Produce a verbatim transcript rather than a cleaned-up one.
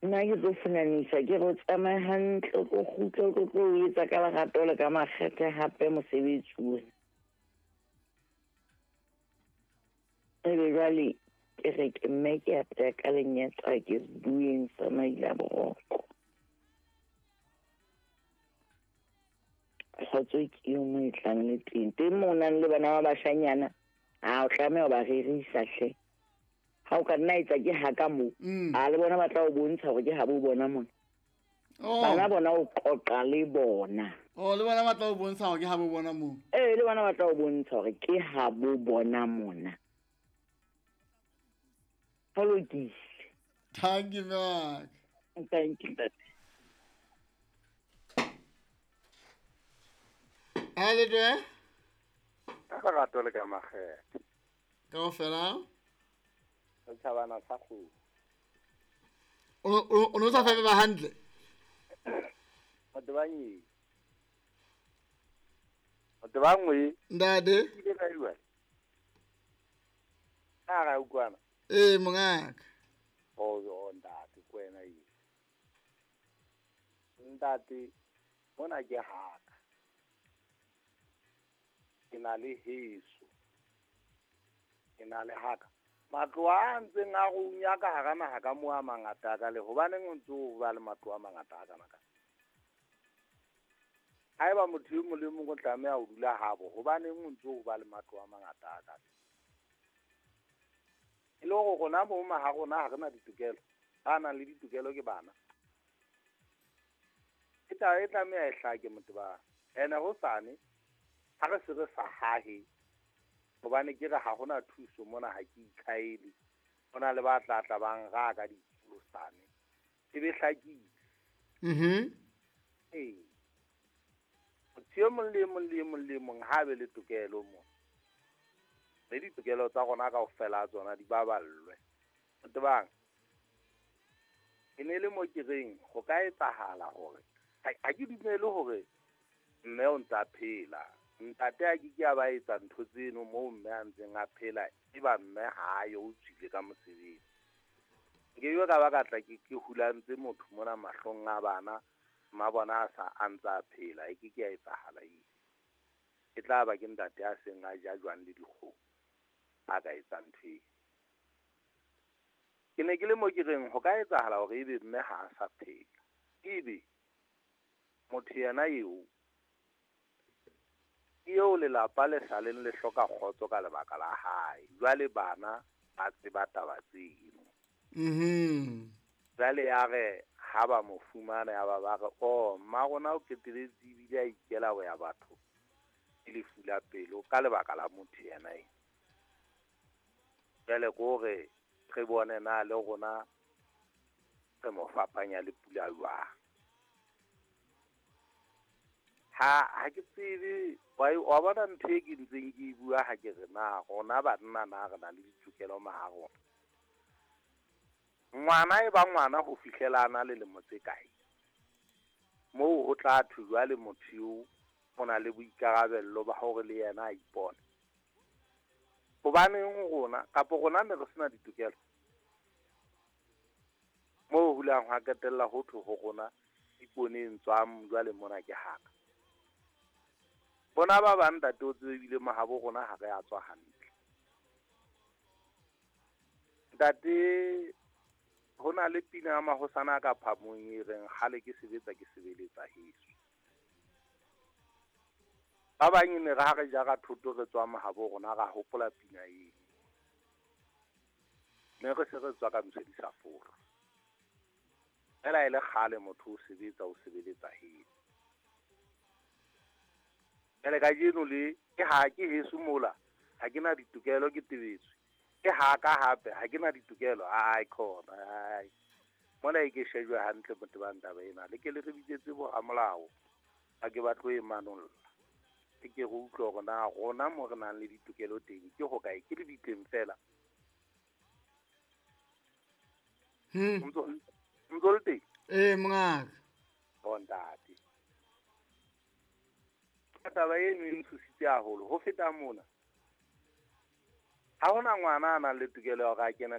Nna ke tlo funanisa ke re o tsamaye hantle, o tlo kgutla, o tlo tlo o etsa ka lerato le ka makgethe hape mosebetsi ona. Ebe jwale ke re ke mme ke a teya ka lenyatsa ke bueng sa maila boroko. Kgotso ke eo mo e tlang le teng. Teng moo o nang le bana ba bashanyana, a o tlameha ho ba rerisa hle. Ha o ka nna etsa ke haka moo, Mm. a le bona ba tla o bontsha hore ke ha bo bona mona. Oh. Bana bona o qoqa le bona. Oh, le bona ba tla o bontsha hore ke ha bo bona moo. Eh, le bona ba tla o bontsha hore ke ha bo bona mona. Ho lokile. Thank you, Mark. Thank you, ntate. Ha le teng? Ka lerato le ka makgethe. Kaofela? Setjhabana sa kgomo. O o o no sa fepe ba hantle? Motho ba nyee. Motho ba nngwe. Ntate? Ile ka bua. A ra utlwana. Eh, mongaka. Oh, oh, ntate, ke wena eo. Ntate, mona ke haka. Ke na le heso. Ke na le haka. Matlo a ntseng a runya ka hara naha ka moo a mangata a ka le hobaneng o ntso o ba le matlo a mangata a kana ka. Haeba motho e mong le mong o tlameha ho dula habo, hobaneng o ntso o ba le matlo a mangata a ka. E le hore rona bo ma ha rona ha re na ditokelo, ba nang le ditokelo ke bana. Ke taba e tlameha e hlake motho ba. Ene hosane ha re se re sa hahe, hobane ke re ha hona thuso mona ha ke itlhaele. Ho na le ba tla tla bang ra ka dipolosane. E be hlakile. Mhm. Ee. Motho e mong le e mong le e mong le e mong ha be le tokelo mo. Le ditokelo tsa rona kaofela tsona di baballwe. Motho bang. E ne le mo ke reng ho ka etsahala hore ha, ha ke dumele hore mme o ntsa phela. Ntate a ke ke a ba etsa ntho tseno moo mme a ntseng a phela, e ba mme ha yo o tswile ka mosebetsi. Nke ke ka ba ka tla ke, ke hulantse motho mona mahlong a bana, mma bona a sa a ntsa phela, e ke ke ya etsahala eo. E tla ba ke ntate a seng a ja jwang le dikgomo a ka etsang ntho eo. Ke ne ke le mo ke reng ho ka etsahala hore ebe mme ha a sa phela. Ebe motho yena eo ke eo lelapa le sa leng le hloka kgotso ka lebaka la hae. Jwale bana ba tseba taba tseno. Mhm. Jwale ya re ha ba mo fumana ya ba ba re, oh, mma rona o qetelletse ebile a ikela ho ya batho ke lefu la pelo ka lebaka la motho yena eo. Jwale ke hore re bone na le rona re mo fapanya le pula jwang. Ha, ha ke tsebe, wa e, wa bona ntho e ke ntseng ke e bua ha ke re na rona banna na re na le ditokelo maha rona. Ngwana e ba ngwana ho fihlela a na le lemo tse kae? Moo ho tla thwe jwale motho eo o na le boikarabello ba hore le yena a ipone. Hobaneng rona, kapa rona ne re sena ditokelo? Moo ho hulang hwa qetella ho thwe ho rona iponeng tswang jwale mona ke haka. Bona ba bang ntate o tsebe ebile mahabo rona ha re a tswa hantle. Ntate, ho na le pina ya mahosana ka phamong e reng kgale ke sebetsa ke sebeletsa heso. Ba bang e ne re ha re jara thoto re tswa mahabo rona ra hopola pina eo. Mme re se re tswa ka ntho di sa fora. Fela e le kgale motho o sebetsa o sebeletsa heso. Jwale kajeno le ke ha ke heso mola, ha ke na ditokelo ke tebetswe. Ke ha ka hape ha ke na ditokelo, ai khona, ai. Mona e ke shejwe hantle motho ba ntaba ena, le ke le re bitsetse bo ramolao, ha ke batle ho e manolla. Ke ke re utlwe hore na rona mo re nang le ditokelo teng ke ho kae, ke le bitleng fela. Hmm. Ntso, ntso le teng? Eh, mongaka. Oh, ntate. Taba eno e ntshositse haholo ho feta mona. Ha hona ngwana a nang le tokelo ya hore a kene